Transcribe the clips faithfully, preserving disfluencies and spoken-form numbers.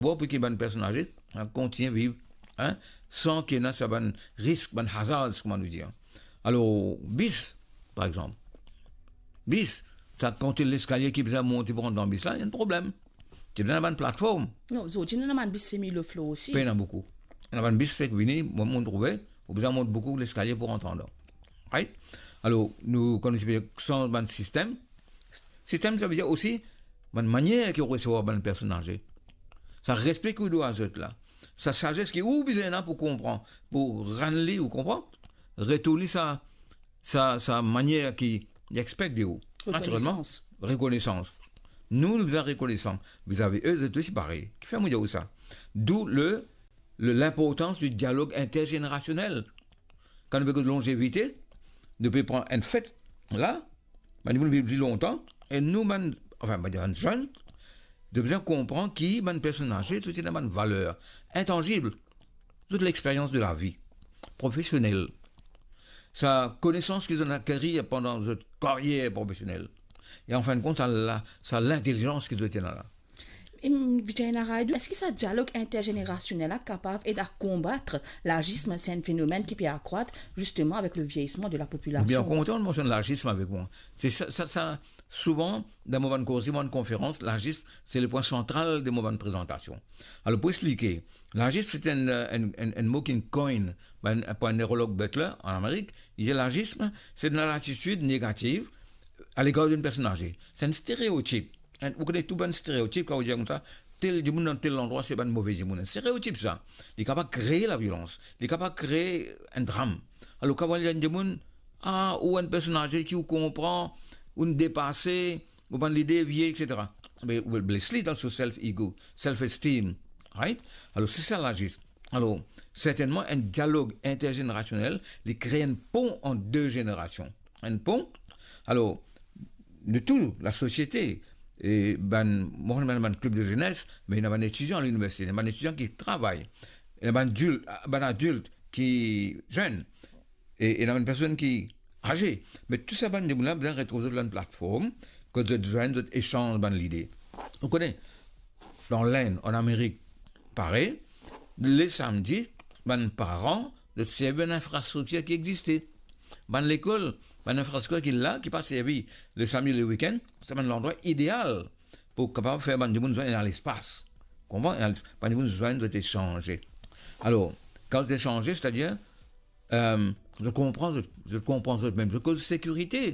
Bon, pou ki bann personn aze, hein, kontigne viv, hein, san ki ena sa bann risk, bann hazards, kouma nou dir. Alor, bis, par exanp. Bis, sa, kan to leskalie ki bizin monte pou rant dan bis la, ena problem. To bizin bann platform. Non, zordi, nou ena bann bis semi low floor osi. Pena boukou. Ena bann bis fek vini, mo, mo trouve, ou bizin mont boukou leskalie pou rant andan. Right? Alor, nou, kan nou ti pe sanz bann sistem, sistem, sa ve dir osi bann manier ki ou resevwar bann personn aze. Sa respe ki ou dwa zot la. Sa sazes ki ou bizin la pou konpran, pou rann li, ou konpran? Retourn li sa, sa, sa manier ki li expect de ou. Naturelman, rekonesans. Rekonesans. Nou, nou bizin rekonesan vizavi e, zot osi parey. Kifer mo dir ou sa? D'où le, le, l'inportans du dialog intergenerasionel. Kan nou pe koz lonzevite, nou pe pran enn fet la, bann dimoun viv pli lontan, e nou bann, anfin, bann zenn, nou bizin konpran ki bann personn aze, zot ena bann valer intanzib, zot lexperyans de lavi, profesionel, sa konesans ki zot inn akerir pandan zot karyer profesionel. E anfin de kont, sa la, sa lintelizans ki zot ena la. Em, Vijay Naidu, eski sa dialog intergenerasionel la kapav ed a konbat lazism? Se enn fenomenn ki pe akrwat, zisteman, avek le vieillisement de la population. Bien kontan ou mennsionn lazism avek mwa. Se sa, sa, sa, souvan, dan mo bann koze, mo bann konferans, lazism, se le pwin santral de mo bann prezantasion. Alor, pou explike, lazism, se enn, enn, enn, enn mo ki'nn coin par enn, par enn nerolog Butler an Amerik. Li dir lazism, se enn latitid negativ a legar enn personn aze. Se enn stereotip. Enn, ou kone tou bann stereotip, kan ou dir koumsa, tel dimoun dan tel landrwa, se bann move dimoun. Enn stereotip sa. Li kapav kree laviolans. Li kapav kree enn dram. Alor, kan ou dir enn dimoun, "Ah, ou enn personn aze ki ou konpran, ou depase, ou bann lide vie, et cetera." Me ou bles li dan so self ego, self esteem, right? Alor, se sa lazism. Alor, sertennman, enn dialog intergenerasionel, li kree enn pon ant de zenerasion. Enn pon. Alor, nou tou, lasosiete, e bann, mo, bann, bann klib de zenes, me ena bann etidian liniversite, ena bann etidian ki travay, ena bann adil-, bann adilt ki zenn, e, e ena bann personn ki aze. Me tou sa bann dimoun la bizin retrouv zot dan enn platform, kot zot zwenn, zot esanz bann lide. Ou kone, dan Lenn, an Amerik, parey, le samdi, bann paran, zot servi bann infrastriktir ki existe. Bann lekol, bann infrastriktir ki la, ki pa servi le samdi, le wikenn, se bann landrwa ideal pou kapav fer bann dimoun zwenn, ena lespas. Konpran? Ena les-, bann dimoun zwenn, zot esanze. Alor, kan zot esanze, setadir, em, zot konpran, zot, zot konpran zot mem, zot koz sekirite,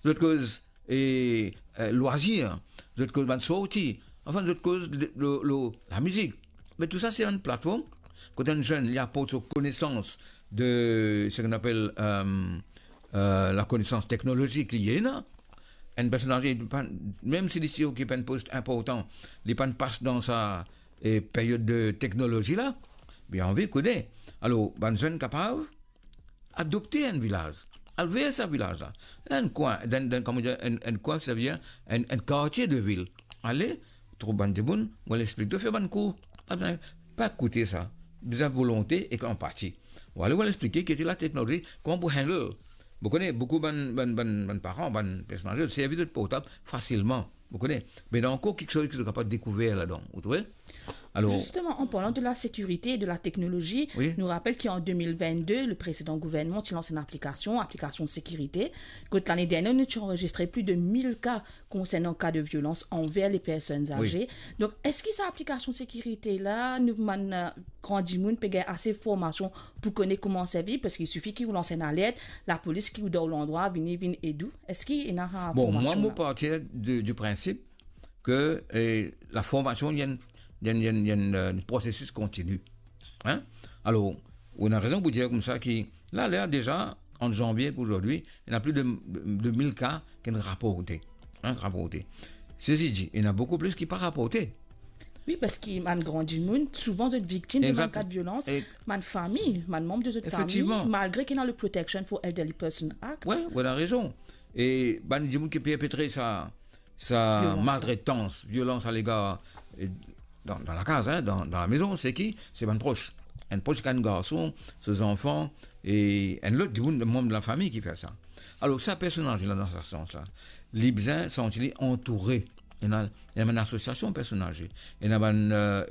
zot koz, e, e, lwazir, zot koz bann sorti, anfin, zot koz le, le, le, lamizik. Me tou sa, se enn platform kot enn zenn, li aport so konesans de, seki nou apel, em, e, lakonesans teknolozik li ena. Enn personn aze, li pa, mem si li ti okip enn post inportan, li pa'nn pas dan sa, e, period de teknolozi la, bien anvi kone. Alor, bann zenn kapav adopte enn vilaz, al ver sa vilaz la. Enn kwin, dan, dan, kouma dir, enn, enn kwin, sa ve dir enn, enn kartie de vil. Ale, trouv bann dimoun, ou al explik zot, fer bann kour. Pa bizin, pa koute sa. Bizin volonte ek anpati. Ou ale, ou al explike ki ete lateknolozi, kouma pou handle. Ou kone, boukou bann, bann, bann, bann paran, bann personn aze, zot servi zot portab fasilman. Ou kone, me ena ankor kiksoz ki zot kapav dekouver ladan, ou trouve? Alor, justement, en parlant de la sécurité et de la technologie, wi, nou rapel ki an deux mille vingt-deux, le précédent gouvernement ti lans enn aplikasion, aplikasion sekirite, kot lane dernie, nou ti anrezistre plis de mil ka konsernan ka de violans anver les personnes, wi, âgées. Donk, eski sa aplikasion sekirite la, nou bann, e, gran dimoun pe gagn ase formasion pou kone kouma servi, paski sifi ki ou lans enn alert, lapolis ki ou dan ou landrwa vini, vinn ed ou? Eski ena formasion la? Bon, mwa, mo parti de, du principe ke, e, laformasion, li enn, li enn, li enn, li enn, e, prosesis kontini. Hein? Alor, ou ena rezon pou dir koumsa ki, la, la, deza, ant zanvie ek azordi, ena plis de, de, de mil ka ki inn raporte. Hein, raporte. Sesi di, ena boukou plis ki pa raporte. Wi, paski bann gran dimoun, souvan zot viktim de bann, exact, ka de violans, e bann fami, bann manm de zot fami, efektivman, malgre ki ena le Protection for Elderly Person Act. Wi, ou ena rezon. E bann dimoun ki perpetre sa, sa, violans, maltretans, violans alegar, e, dan, dan lakaz, hein, dan, dan lamezon, se ki? Se bann pros. Enn pros, enn garson, so zanfan, e enn lot dimoun, manm de lafami ki fer sa. Alor, sa personn aze la, dan sa sans la, li bizin santi li antoure. ena, ena bann asosiasion personn aze, ena bann, eh,